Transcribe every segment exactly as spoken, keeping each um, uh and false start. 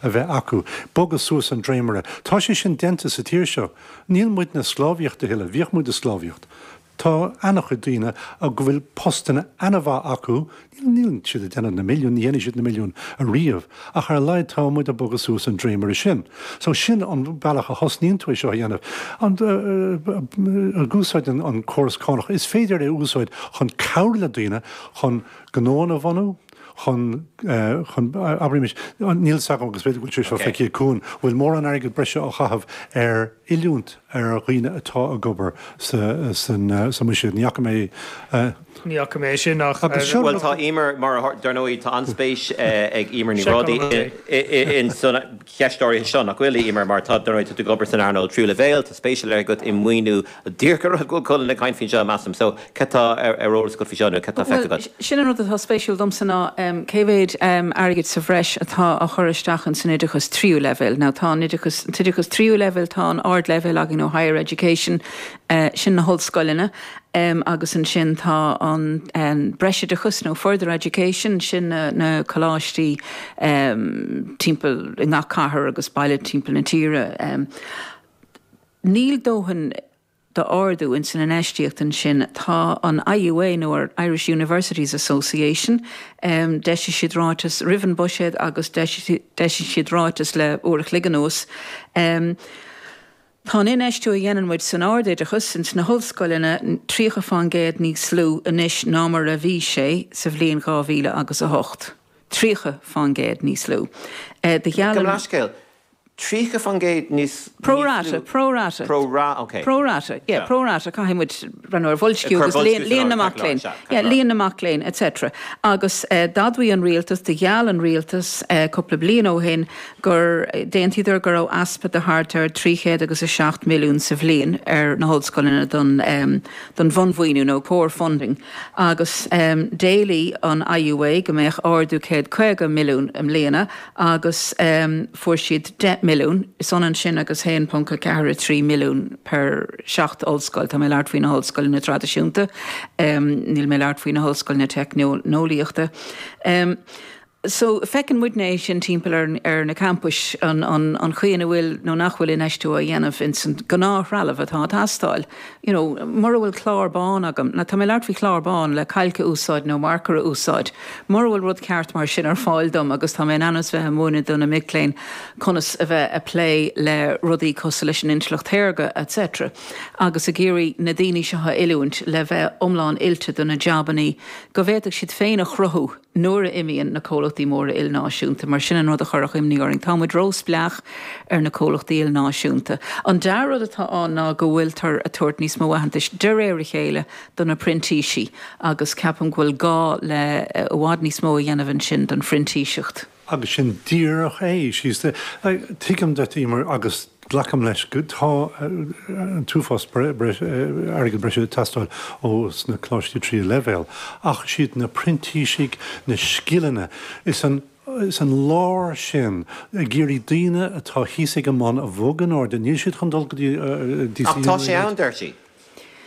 a bheith acu, bogadh suas an dréimire. Tá sé sin déanta sa tír seo. Níl muid na sclábhaíocht a thuilleadh, bhíodh muid i sclábhaíocht. Tá an-chuid daoine a go bhfuil postanna an-mhaith acu, níl siad ag déanamh na milliún, ní dhéanfaidh siad na milliún ariamh, ach ar a laghad tá muid ag bogadh suas an dréimire sin. So sin an bealach a thosnaíonn tú é seo a dhéanamh. An ag úsáid an, an córas cánach, is féidir é a úsáid chun cabhrú le daoine chun gnóanna a bhunú, chun chun abraimis, níl 's agam agus b'fhéidir go bhfuil sé seo feicthe ag Cuan, bhfuil mórán airgead breise á chaitheamh ar oiliúint ar dhaoine atá ag obair sa san sa mbuiséad. Ní fhaca mé Ní fhaca mé sin ach Agus seo Bhuel tá Emer mar dar ndóigh tá an-spéis ag Emer Ní Bhrádaigh in san cheist áirithe seo nach bhfuil Emer mar tá dar ndóigh tá tú ag obair san earnáil tríú leibhéal, tá spéis ar leith agat i maoiniú díreach ar go bhfuil Colin ag caint faoin seo measaim. So cad tá ar ar eolas agat faoi seo nó cad tá feicthe agat? Sin an rud atá spéisiúil domsa ná cé mhéad airgid sa bhreis atá á chur isteach in san oideachas tríú leibhéal. Now tá an oideachas an t-oideachas tríú leibhéal tá an ardleibhéal againn ó higher education sin na hollscoileanna agus ansin tá an breisoideachas nó further education sin na, na coláistí timpeall i ngach cathair agus baile timpeall na tíre. Níl dóthain d'ardú in san infheistíocht ansin tá an IUA nó Irish Universities Association um, d'eisigh siad ráiteas roimh an buiséad agus d'eisigh siad ráiteas le uair a chloig anuas. Um, Tá an infheistiú a dhéanann muid san ardoideachas ins na hollscoileanna tríocha faoin gcéad níos lú anois ná mar a bhí sé sa bhliain dhá mhíle agus a hocht. Tríocha faoin gcéad níos lú. Do gheall an. Leathscéal. Tríocha faoin gcéad níos Pro rata, pro rata. Pro ra, ok. Pro rata, yeah, pro rata, caithfidh muid breathnú ar bhoilsciú agus líon na mac léinn. Yeah, líon na mac léinn, et cetera. Agus d'admhaigh an rialtas, do gheall an rialtas cúpla bliain ó shin gur d'aontaíodar go raibh easpa de thart ar trí chéad agus a seacht milliún sa bhliain ar na hollscoileanna don don bhunmhaoiniú nó core funding agus d'éiligh an IUA go mbeadh ardú céad caoga milliún i mbliana agus fuair siad deich milliún, is ionann sin agus haon ponc a ceathair a trí milliún per seacht ollscoil, tá mé ag labhairt faoi na hollscoileanna traidisiúnta, níl mé ag labhairt faoi na hollscoileanna teicneolaíochta. So, feiceann muidne é sin timpeall ar ar na campais, an an an chaoi ina bhfuil nó nach bhfuil infheistiú á dhéanamh ins an gnáth-threalamh atá ag teastáil. You know, mura bhfuil clár bán agam, now tá mé ag labhairt faoi chlár bán le cailc a úsáid nó marker a úsáid, mura bhfuil rud ceart mar sin ar fáil dom agus tá mé in ainm is bheith ag múineadh do na mic léinn conas a bheith ag plé le rudaí cosúil leis an intleacht shaorga, et cetera agus ag iarraidh na daoine seo a oiliúint le bheith iomlán oilte do na jabannaí go bhféadfadh siad féin a chruthú nuair a imíonn na comhlachtaí móra ilnáisiúnta, mar sin an rud a chuirfeadh imní orainn. Tá muid róspleách ar na comhlachtaí ilnáisiúnta. An dea-rud atá ann ná go bhfuiltear ag tabhairt níos mó aitheantais de réir a chéile do na printísigh agus ceapaim go bhfuil gá le i bhfad níos mó a dhéanamh ansin don phrintíseacht. Agus sin díreach é. She's the, tuigim duit, Emer, agus Glacaim leis go tá an t-uafás airgead breise ag teastáil ó sna coláistí tríú leibhéal, ach siad na printísigh, na scileanna, is an is an lár sin, ag iarraidh daoine atá thíos ag an mbun a bhogadh in airde, níl siad chun dul go dtí Ach tá sé ann, deir sí.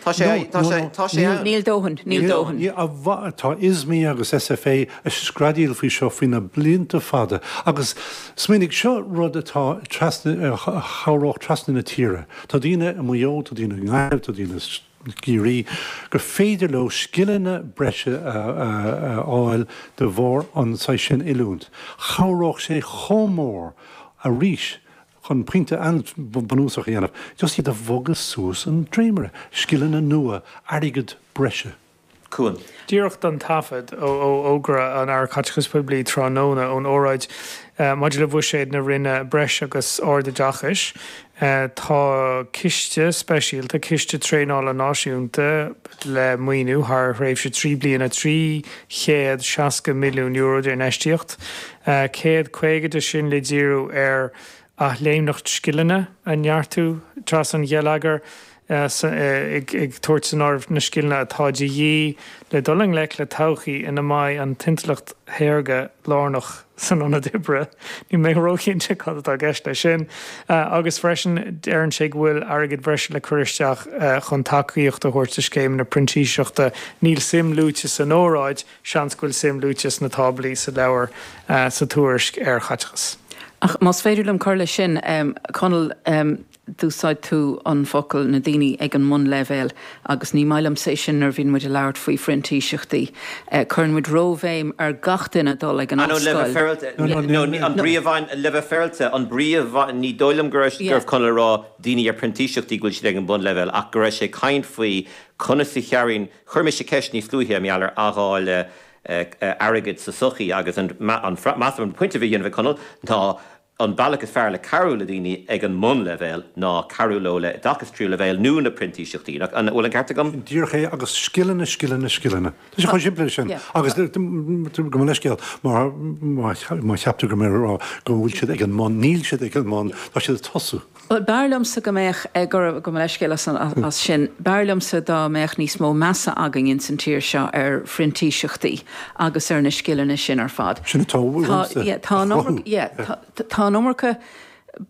Tá sé, tá sé, tá sé ann. Níl dóthain, níl dóthain. Tá ISME agus SFA ag screadaíl faoi seo faoi na blianta fada agus smaoinigh, seo rud atá trasna, a chabhródh trasna na tíre. Tá daoine i Maigh Eo, tá daoine i nGaillimh, tá daoine i gCiarraí, gur féidir leo scileanna breise a fháil de bharr an saghas sin oiliúint. Chabhródh sé chomh mór arís Chun pointe an-bhunúsach a dhéanamh, just iad a bhogadh suas an dréimire, scileanna nua, airgead breise. Cuan. Díreach don taifead, ó fhógra an Aire Caiteachais Poiblí tráthnóna ón óráid maidir le buiséad na Roinne Breis agus Ardoideachais, tá ciste speisialta, Ciste Traenála Náisiúnta le maoiniú thar thréimhse trí bliana, trí chéad seasca milliún euro d'infheistíocht, céad caoga de sin le díriú ar athléimneacht scileanna a neartú trasna an gheilleagair, ag tabhairt san áireamh na scileanna atá de dhíth le dul i ngleic le todhchaí ina mbeidh an t-intleacht shaorga lárnach san ionad oibre. Níl mé róchinnte cad atá i gceist leis sin. Agus freisin, deireann sé go bhfuil airgead breise le cur isteach chun tacaíocht a thabhairt do scéimeanna printíseachta. Níl suim luaite san óráid, seans go bhfuil suim luaite sna táblaí sa leabhar sa tuairisc ar chaiteachas. Ach más féidir liom cur leis sin, Conall, d'úsáid tú an focal na daoine ag an mbunleibhéal agus ní maith liomsa é sin nuair a bhíonn muid ag labhairt faoi phrintíseachtaí. Cuireann muid róbhéim ar gach duine dul ag an ollscoil. Le bheith féaráilte, an brí a bhain, le bheith féaráilte, an brí a bhain, ní dóigh liom go raibh, go raibh Conall ag rá daoine ar printíseachtaí go bhfuil siad ag an mbunleibhéal ach go raibh sé ag caint faoi conas a chabhraíonn, chuir mise ceist níos luaithe mar gheall ar athdháileadh airgid sa tsochaí agus an, measaim an pointe a bhí á dhéanamh ag Conall ná an bealach is fearr le cabhrú le daoine ag an mbunleibhéal ná cabhrú leo le oideachas tríú leibhéal nó na printíseachtaí. Nach bhfuil an ceart agam? Sin díreach é agus scileanna, scileanna, scileanna. Tá sé chomh simplí leis sin. Agus gabh mo leithscéal má cheap tú go raibh mé ag rá go bhfuil siad ag an mbun. Níl siad ag an mbun, tá siad ag tosú. Bhuel, b'fhearr liomsa go mbeadh, gabh mo leithscéal as sin, b'fhearr liomsa dá mbeadh níos mó measa againn ins an tír seo ar phrintíseachtaí agus ar na scileanna sin ar fad. Sin atá uaimse a chruthú. Tá an iomarca,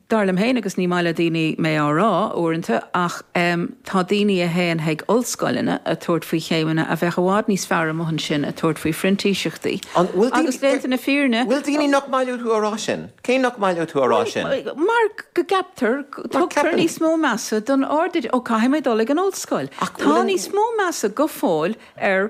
dar liom féin, agus ní maith le daoine mé á rá uaireanta, ach tá daoine a théann chuig ollscoileanna ag tabhairt faoi chéimeanna a bheadh i bhfad níos fearr amuigh ansin ag tabhairt faoi phrintíseachtaí. Agus déanta na fírinne. Bhfuil daoine nach maith leo tú a rá sin? Cé nach maith leo tú a rá sin? Mar go gceaptar, tugtar níos mó measa don ard, ó caithfidh mé dul ag an ollscoil. Tá níos mó measa go fóill ar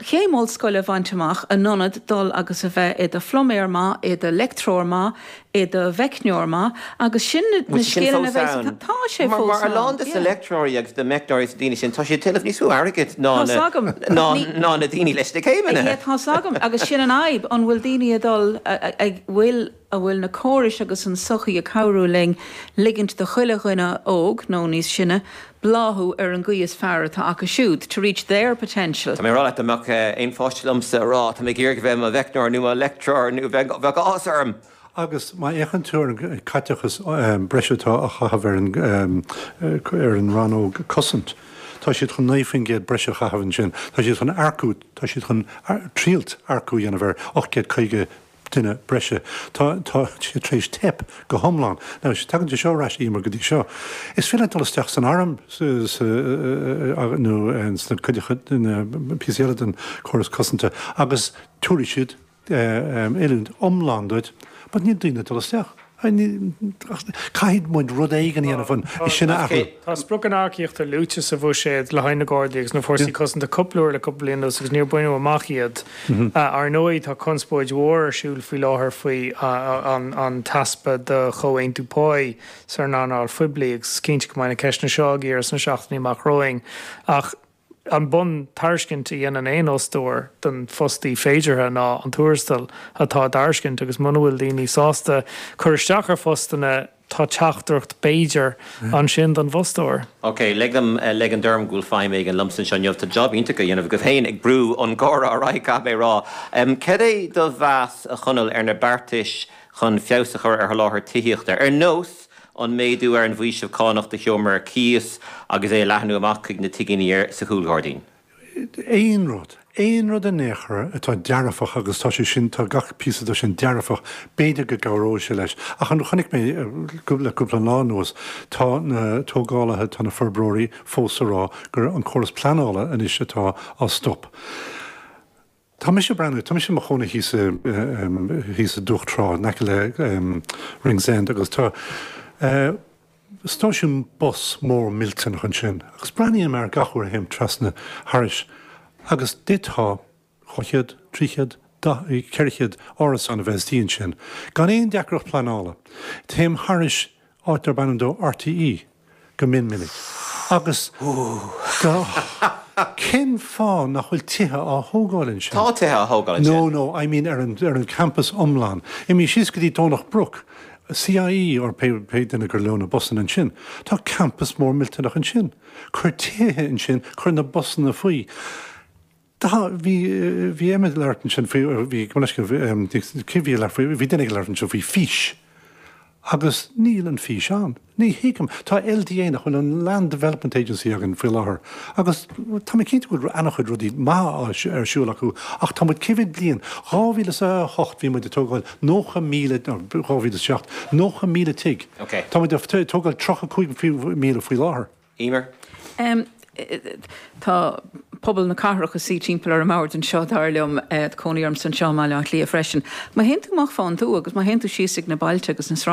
chéim ollscoile a bhaint amach in ionad dul agus a bheith i do phluiméir maith, i do leictreoir maith, i do mheicneoir maith agus sin na scileanna a bheas, tá sé fós ann. Mar a lán de na leictreoirí agus de meicneoirí agus daoine sin, tá siad ag tuilleamh níos mó airgid ná na daoine leis na céimeanna. Yeah, tá's agam agus sin an fhadhb, an bhfuil daoine ag dul, ag, bhfuil, an bhfuil na córais agus an tsochaí ag cabhrú linn ligint do chuile dhuine óg nó níos sine bláthú ar an gcaoi is fearr atá acu siúd, to reach their potential. Tá mé ag rá leat, dá mbeadh aon pháiste liomsa ag rá tá mé ag iarraidh a bheith i mo mheicneoir nó mo leictreoir nó bheadh áthas orm. Agus má fhéachann tú ar an caiteachas breise atá á chaitheamh ar an ar an rannóg cosaint, tá siad chun naoi faoin gcéad breise a chaitheamh ansin, tá siad chun earcú, tá siad chun triailt earcú a dhéanamh ar ocht gcéad caoga duine breise. Tá tá siad tar éis teip go hiomlán. Now, tagann sé seo ar ais, Emer, go dtí seo. Is féidir leat dul isteach san arm sa sa nó sna cuideachta na píosaí eile den chóras cosanta agus tabharfaidh siad oiliúint iomlán duit but níl daoine ag dul isteach. Caithfidh muid rud éigin a dhéanamh chun é sin a athrú. Tá spriocanna earcaíochta luaite sa bhuiséad le haghaidh na Gardaí agus na Fórsaí Cosanta cúpla uair le cúpla bliain anuas agus níor baineadh amach iad. Ar ndóigh tá conspóid mhór ar siúl faoi láthair faoi an t-easpa de chomhaontú páí san earnáil phoiblí agus is cinnte go mbeidh na ceisteanna seo á gcíoradh sna seachtainí amach romhainn ach an bun-tairiscint a dhéanann aon fhostóir don fostaí féideartha ná an tuarastal atá á dtairiscint agus muna bhfuil daoine sásta cur isteach ar phostanna tá teachtaireacht b'fhéidir ansin don bhfostóir. Ok, lig dom ligean orm go bhfuil feidhm éigin liomsa anseo inniu. Tá job iontach á dhéanamh agaibh féin ag brú an comhrá ar aghaidh, caithfidh mé a rá. Cad é do mheas, a Chonaill, ar na beartais chun feabhas a chur ar sholáthar tithíochta, ar nós an méadú ar an bhfaoiseamh cánach do sheomra ar cíos agus é a leathnú amach chuig na tigíní sa chúlghairdín. Aon rud, aon rud in aon chor atá dearfach agus tá sé sin, tá gach píosa de sin dearfach, b'fhéidir go gcabhróidh sé leis. Ach an, chonaic mé le cúpla lá anuas, tá na tógálaithe, tá na forbróirí fós ag rá gur an córas pleanála anois atá á stop. Tá mise ag breathnú, tá mise i mo chónaí thíos i, thíos i Dumhach Trá, in aice le Ringsend agus tá stáisiún bus mór millteanach ansin agus breathnaím air gach uair a théim trasna thairis agus d'fhéadfá dhá chéad, trí chéad, ceithre chéad árasán a bheith istigh ansin gan aon deacracht pleanála. Téim thairis áit darb ainm dó RTÉ go mion minic. Agus cén fáth nach bhfuil tithe á thógáil ansin? Tá tithe á thógáil ansin. No, no, I mean ar an, ar an campus iomlán. Imigh síos go dtí Domhnach Broc, CIE or pé, pé duine gur leo na busanna ansin. Tá campus mór millteanach ansin. Cuir tithe ansin, cuir na busanna faoi. Tá, bhí, bhí Emma ag labhairt ansin faoi, bhí, gabh mo leithscéal, cé bhí ag labhairt faoi, bhí duine ag labhairt ansin faoi fís. Agus níl an fís ann. Ní thuigim. Tá LDA, nach bhfuil an Land Development Agency againn faoi láthair, agus tá mé cinnte go bhfuil an-chuid rudaí maithe ar siúl acu, ach tá muid cé mhéad bliain, dhá mhíle is a hocht bhí muid ag tógáil nócha míle, nó dhá mhíle is a seacht, nócha míle tigh. Tá muid ag tógáil tríocha cúig míle faoi láthair. Emer? Tá pobal na cathrach a suí timpeall ar an mbord anseo dar liom eh, cónaí ormsa anseo i mBaile Átha Cliath freisin. Má théann tú amach fán tuath agus má théann tú síos ag na bailte agus na sráid